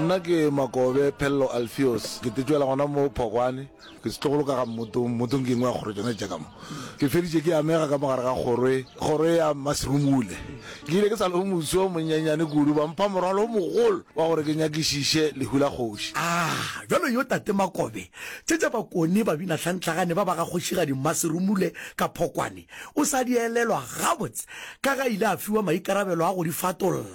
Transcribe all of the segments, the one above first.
Nna ke Makobe Phello Alfios, ke tetšwela gona mo Phokwane. Ke setlogolo ka ga Mmotong, Mmotong ke engwe ya kgoro tšona tša ka mo. Ke feditše ke amega ka mo gare ga kgoro e, kgoro e ya Mmaserumule. Ke ile ke sa le moswa o monyenyane kudu, ba mpha morwalo o mogolo wa gore ke nyakišiše lehu la kgoši. A bjalo yo Tate Makobe, tše tša Bakone babinahlantlagane ba ba ga Kgošigadi Mmaserumule ka Phokwane, o sa di elelwa gabotse ka ge a ile a fiwa maikarabelo a go di fatolla.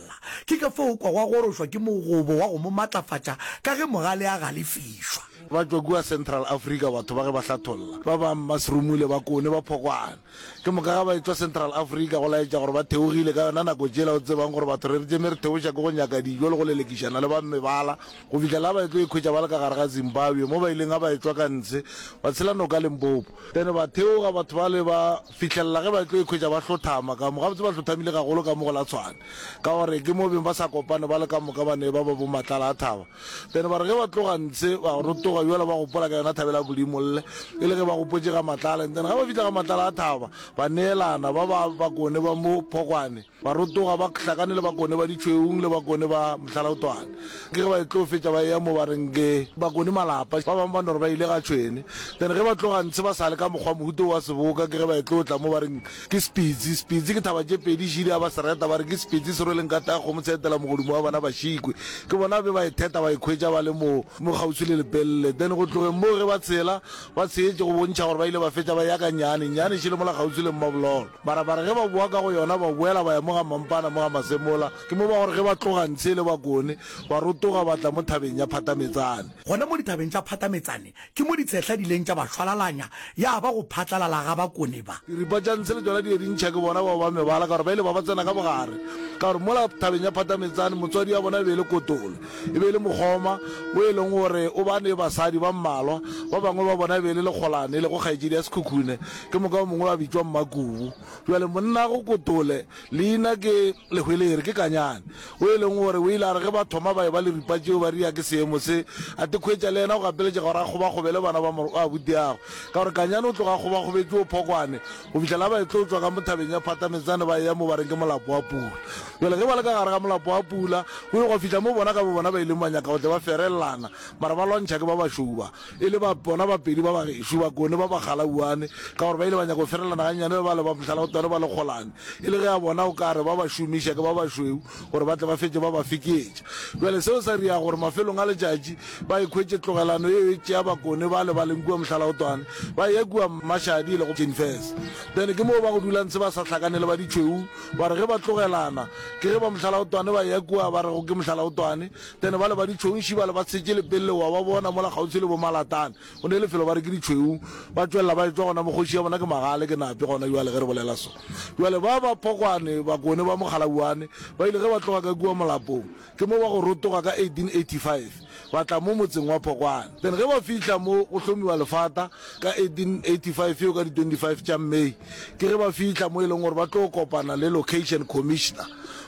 Ke ka fao o kwago a gorošwa ke mogobo wa go mo matlafatša ka ge mogale a galefišwa. Ba tšwa kua Central Africa batho ba ge ba hlatholla. Ba ba Mmaserumule, Bakone, ba Phokwane. Ke moka ga ba etšwa Central Africa go laetša gore ba theogile ka yona nako tšela o tsebang gore batho re re tšeme re theoša ke go nyaka dijo le go lelekišana le ba mebala go fihla la ba etlo ikhwetša ba le ka gare ga Zimbabwe mo ba ileng ga ba etšwa ka ntshe ba tshela noka Limpopo. Then ba theoga batho bale ba fihlelela ge ba etlo ikhwetša ba hlothama ka mo gabotse ba hlothamile gagolo ka mo go la Tshwane ka gore ke mo beng ba sa kopane ba le ka moka ba ne ba ba bo Matlala a thaba. Then ba re ge ba tloga ntshe ba rotoga bjale ba gopola ka yona thabela Bodimolle e le ge ba gopotše ga Matlala. And then ga ba fihla ga Matlala a thaba ba neelana ba ba Bakone ba mo Phokwane ba rotoga ba hlakane le Bakone ba Ditšhweung le Bakone ba Mohlalaotwane. Ke ge ba e tlo fetša ba eya mo ba reng ke Bakone malapa ba bangwe ba no re ba ile ga Tšhwene. Then ge ba tloga ntshe ba sa le ka mokgwa mohuta wo wa seboka ke ge ba e tlo tla mo ba reng Ke Sepitsi, Sepitsi ke thaba tše pedi šidi a ba se reta ba re ke Sepitsi se rweleng ka taya kgomo se etela mogodumo wa bana ba šikwe. Ke bona be ba e theta ba e khwetša ba le mo mo kgauswi le Lepelle. Then go tlogeng moo ge ba tshela ba tshetše go bontšha gore ba ile ba fetša ba eya ka Nnyane, Nnyane šele mola kgauswi le Mmabololo. Mara ba re ge ba boa ka go yona ba boela ba ya mo ga Mampana mo ga Masemola. Ke mo ba gore ge ba tloga ntshe le Bakone ba rotoga ba tla mo thabeng ya Phatametsane. Gona mo dithabeng tša Phatametsane Ke mo ditshehla di ileng tša ba šwalalanya, ya ba go phatlalala ga Bakone ba. Diripa tša ntshe le tšona di be di ntšha ke bona bao ba mebala, ka gore ba ile ba ba tsena ka bogare. Ka gore mola thabeng ya Phatametsane, motswadi wa bona e be e le Kotole, e be e le mokgoma, o e leng gore o ba ne basadi ba mmalwa, ba bangwe ba bona e be e le Lekgolane, e lego kgaetšedi ya Sekhukhune, ke moka o mongwe a bitšwa Mmakubu. Bjale monnago Kotole, leina ke Lehwelere, ke Kanyane, o e leng gore o ile a re ge ba thoma ba eba le ripa tšeo ba ria ke seemo se, a tekhwetša le yena go gapeletšega gore a kgobakgobele bana ba abutiagwe. Ka gore Kanyane o tloga a kgobakgobetše o Phokwane go fihla la ba e tlo tšwa ka mo thabeng ya Phatametsane ba eya mo ba reng ke Molapo wa Pula. Bjale ge ba le ka gare ga Molapo wa Pula, go ile gwa fihla mo bona ka bobona ba ileng ba nyaka go tle ba ferellana, mara ba lwantšha ke ba bašweu ba. E le ba bona bapedi ba bagešo, Bakone ba Bagalauane, ka gore ba ile ba nyaka go ferelana gannyane le bale ba Mohlalaotwane ba Lekgolane, e le ge a bona o ka re ba ba šomiša ke ba bašweu gore ba tle ba fetše ba ba fekeetša. Bjale seo sa ria gore mafelong a letšatši ba ikhwetše tlogelano yeo e tšea Bakone bale ba leng kua Mohlalaotwane ba eya kua Mmašadi e lego Jenfes. Then ke moo ba go dula ntshe ba sa hlakane le ba ditšhweu, ba re ge ba tlogelana ke ge ba Mohlalaotwane ba eya kua ba rego ke Mohlalaotwane, Then bale ba ditšhweu bale ba tshetše lepelle wa ba bona mola kgauswi le bo Malatane, go ne lefelo ba re ke ditšhweu, ba tšwelela ba etšwa gona mo kgoši ya bona ke Magale ke Nape gona bjale ge re bolela so. Bjale ba ba Phokwane, Bakone ba Mokgalauane ba ile ge ba tloga ka kua molapong ke mo ba go rotoga ka 1885 ba tla mo motseng wa Phokwane. Then ge ba fihla mo go hlomiwa lefata ka 1885 yeo ka di 25 tša May ke ge ba fihla mo e leng gore ba tlo kopana le Location Commissioner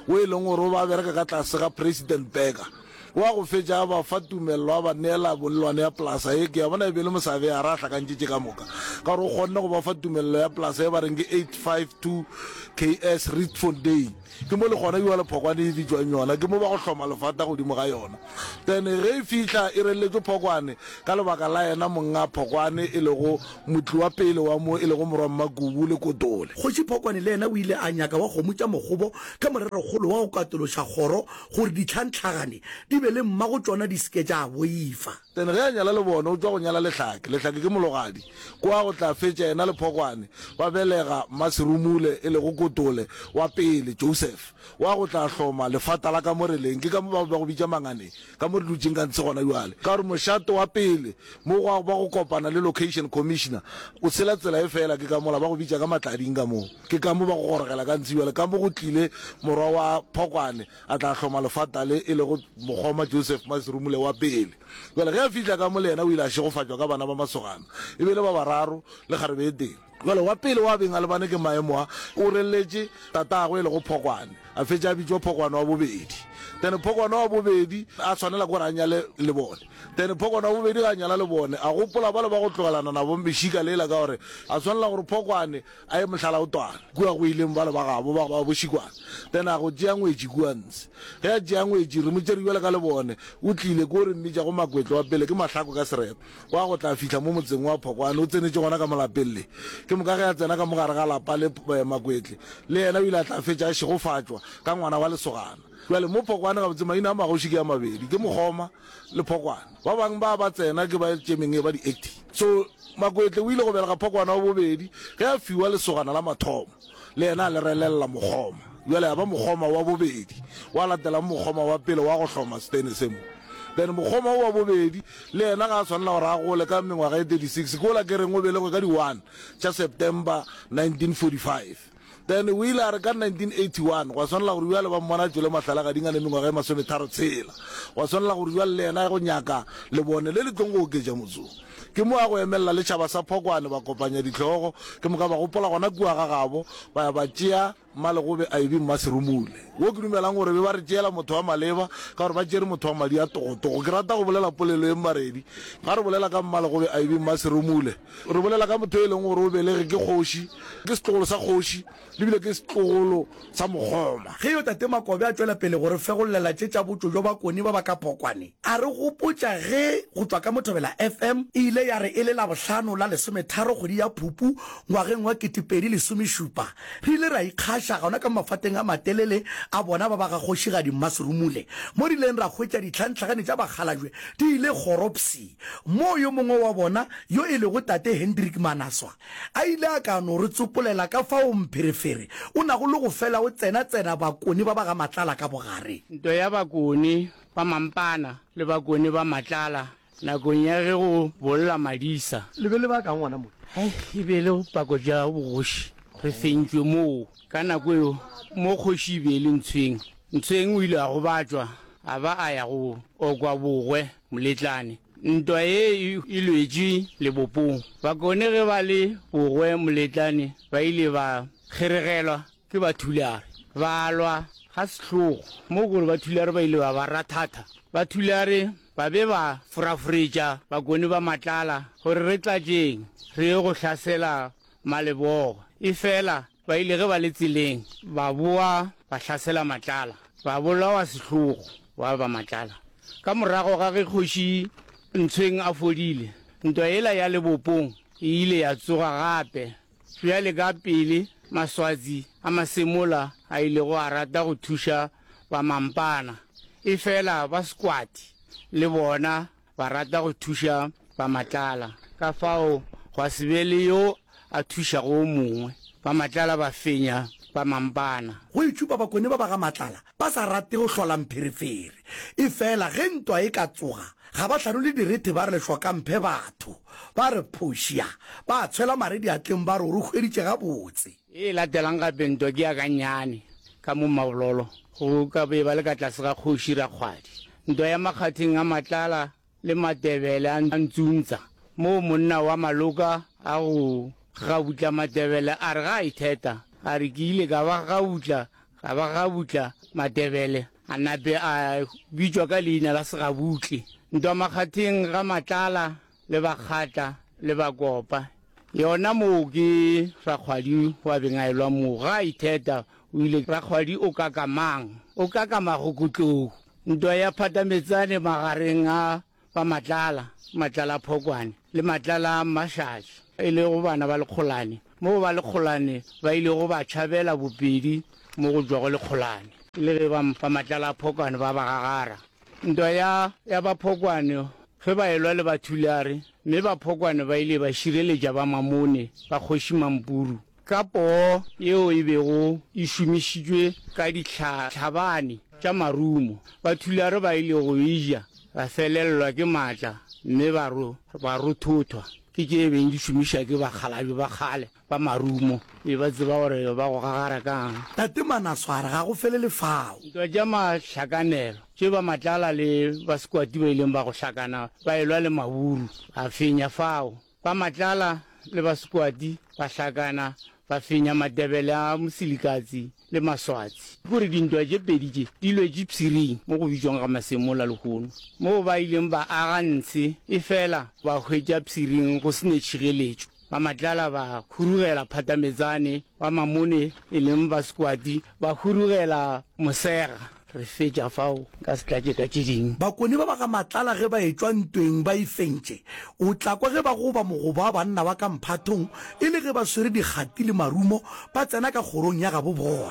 wo e leng gore o ba bereka ka tlase ga President Burger. Wa go fetša a ba fa tumello a ba neela bollwane ya polasa ye ke ya bona e be e le mosaveyara a hlakantše tše ka moka ka gore o kgonne go ba fa tumello ya polasa ye ba reng ke 852 KS Rietfontein. Ke mo le gona bjale phokwane e bitšwang yona, ke mo ba go hloma lefata godimo ga yona. Then ge e fihla e relletšwe phokwane ka lebaka la yena monga phokwane e lego motli wa pele wa mo e lego morwa Mmakubu le Kotole. Kgoši Phokwane le yena o ile a nyaka wa kgomo tša mokgobo ka morerokgolo wa go katološa kgoro gore ditlhantlhagane di be le mmago tšona di se ke tša boifa. Then ge a nyala Lebone o tšwa go nyala Lehlake, Lehlake ke mologadi, kwa go tla fetša yena le Phokwane ba belega Mmaserumule e lego Kotole wa pele, Joseph, wa go tla hloma lefata la ka mo re leng, ke ka mo ba ba go bitša Manganeng, ka mo re dutšeng ka ntshe gona bjale, ka gore mošate wa pele mo gwa ba go kopana le Location Commissioner o tshela tsela e fela, ke ka mola ba go bitša ka Matlading ka mo, ke ka mo ba go gorogela ka ntshe bjale, ka mo go tlile morwa wa Phokwane a tla hloma lefata le e lego mokgoma Joseph Maserumule wa pele. Bjale ge a fihla ka mo le yena o ile a šegofatšwa ka bana ba masogana, e be e le ba bararo le kgarebe e tee. Bjale wa pele wa beng a lebane ke maemo a, o relletše tatagwe e lego Phokwane, a fetša a bitšwa Phokwane wa bobedi. Then Phokwane wa bobedi a swanela ke gore a nyale Lebone. Then Phokwane wa bobedi ge a nyala Lebone, a gopola bale ba go tlogelana nabo mešika lela ka gore a swanela gore Phokwane a ye Mohlalaotwana kua go ileng bale ba gabo ba ba boŠikwana. Then a go tšea ngwetši kua ntshe. Ge a tšea ngwetši re mo tšere bjale ka Lebone, o tlile ke o re mmitšago Makwetlo wa pele ke Mahlako ka sereto. Wa go tla fihla mo motseng wa Phokwane, o tsenetše gona ka mo lapeng le. Ke moka ge a tsena ka mo gare ga lapa le Makwetle, le yena o ile a tla fetša a šegofatšwa ka ngwana wa lesogana. Bjale mo Phokwane gabotse maina a magoši ke a mabedi, ke Mokgoma le Phokwane. Ba bangwe ba ba tsena ke ba tšemeng e ba di-acting. So Makwetle o ile go belega Phokwane wa bobedi ge a fiwa lesogana la mathomo. Le yena a le relelela Mokgoma. Bjale ya ba Mokgoma wa bobedi, wa latelang Mokgoma wa pele wa go hloma setene se mo. Then Mokgoma wo wa bobedi le yena ga a swanela gore a gole ka mengwaga e 36, ke wola ke reng o belegwe ka di one tša September 1945. Then o ile a re ka 1981 gwa swanela gore bjale ba mmona a tšwele mahlalagading a ne mengwaga e masometharo tshela. Gwa swanela gore bjale le yena a ye go nyaka lebone le le tlong go oketša motsong. Ke mo a go emelela le tšhaba sa Phokwane ba kopanya dihlogo, ke moka ba gopola gona kua ga gabo, ba ya ba tšea Mmalegobe a ebe Mmaserumule. Wo ke dumelang gore be ba re tšeela motho wa maleba, ka gore ba tšere motho wa madi a togotogo. Ke rata go bolela polelo ye Mmaredi. Ga re bolela ka Mmalegobe a ebe Mmaserumule, re bolela ka motho e leng gore o belege ke kgoši, ke setlogolo sa kgoši, le bile ke setlogolo sa mokgoma. Ge yo Tate Makobe a tšwela pele go re fegollela tše tša botšo bjo Bakoni ba ba ka Phokwane, a re gopotša ge go tšwa ka Mothobela FM e ile ya re e le Labohlano la lesometharo kgwedi ya Phupu ngwageng wa 2017, re ile ra ikgaša gona ka mafateng a matelele a bona ba ba ga Kgošigadi Mmaserumule, mo re ileng ra hwetša ditlhantlhagane tša bakgalabje di ile kgoropsi, moo yo mongwe wa bona yo e lego Tate Hendrik Manaswa A ile a ka no re tsopolela ka fao mpherefere o nago le go fela o tsena-tsena Bakone ba ba ga Matlala ka bogare. Ntwa ya Bakone ba Mampana le Bakone ba Matlala nakong ya ge go bolla madisa. Le be le ba kang gona mo? Hai, e be e le pako tša bogoši. Re fentšwe moo. Ka nako eo, mo kgoši e be e le Ntshweng. Ntshweng o ile a gobatšwa a ba a ya go okwa bogwe Moletlane. Ntwa ye e lwetšwe lebopong. Bakone ge ba le bogwe Moletlane ba ile ba kgeregelwa ke Bathulare. Ba lwa ga sehlogo mo gore Bathulare ba ile ba ba rathatha. Bathulare ba be ba foraforetša Bakone ba Matlala gore re tlatšeng re ye go hlasela Malebogo. Efela Ba ile ge ba le tseleng ba boa ba hlasela Matlala, ba bolawa sehlogo wa ba Matlala. Ka morago ga ge Kgoši Ntshweng a fodile, ntwa yela ya lebopong e ile ya tsoga gape. Bjale ka pele Maswatsi a Masemola a ilego a rata go thuša ba Mampana, efela ba Sekwati le bona Ba rata go thuša ba Matlala, ka fao gwa se be le yo a thušago o mongwe. Ba Matlala ba fenya ba Mampana. Go itšhupa Bakone ba ba ga Matlala ba sa rate go hlola mpherefere. Efela ge ntwa e ka tsoga, ga ba hlanole direthe ba re lehlokamphe batho. Ba re phošia, ba tshwela mare diatleng ba re o re hweditše gabotse. E latelang gape ntwa ke ya gannyane ka mo Mabololo, go ka be ba le ka tlase ga Kgoši Rakgwadi. Ntwa ya makgatheng a Matlala le Matebele a Ntsuntsa, moo monna wa Maloka a go gabutla Matebele a re ga a itheta, a re ke ile ka ba gabutla, ka ba gabutla Matebele, a nape a bitšwa ka leina la Segabutle. Ntwa makgatheng ga Matlala le Bakgatla le Bakopa, yona moo ke Rakgwadi wa beng a elwa moo, ga a itheta o ile Rakgwadi o kaka mang? O kaka Magokotlou. Ntwa ya phatametsane magareng a ba Matlala, Matlala a Phokwane, le Matlala a Mmašatši, e lego bana ba Lekgolane, moo ba Lekgolane ba ilego ba tšhabela bopedi mo go tšwago Lekgolane, e le ge ba ba Matlala a Phokwane ba ba gagara. Ntwa ya ya ba Phokwane ge ba elwa le ba Thulare, mme ba Phokwane ba ile ba šireletša ba Mamone ba Kgoši Mampuru. Ka poo yeo e bego e šomišitšwe ka dihlabani tša marumo, Bathulare ba ile go e ja, ba felelwa ke maatla mme ba ba rothothwa ke tše e beng di šomišwa ke bakgalabje ba kgale ba marumo, e ba tseba gore ba go gagara ka'ng. Tate Manaswara ga go felele fao. Ntwa tša mahlakanelo tše ba Matlala le ba Sekwati ba ileng ba go hlakana ba elwa le Maburu, ba fenya fao. Ba Matlala. le ba Sekwati ba hlakana ba fenya Matebele a Mosilikatsi le Maswatsi. Ke gore dintwa tše pedi tše di lwetše Pshiring mo go bitšwang ga Masemola lehono, moo ba ileng ba aga ntshe, efela ba hwetša Pshiring go se ne tšhireletšo. Ba Matlala ba hurugela Phatametsane, ba Mamone e leng ba Sekwati ba hurugela Mosega. Re fetša fao, nka se tlatše ka tše dingwe. Bakone ba ba ga Matlala ge ba etšwa ntweng ba e fentše, o tla kwa ge ba goba mogobo wa banna ba ka mphathong e le ge ba swere dikgati le marumo ba tsena ka kgorong ya gabo bona.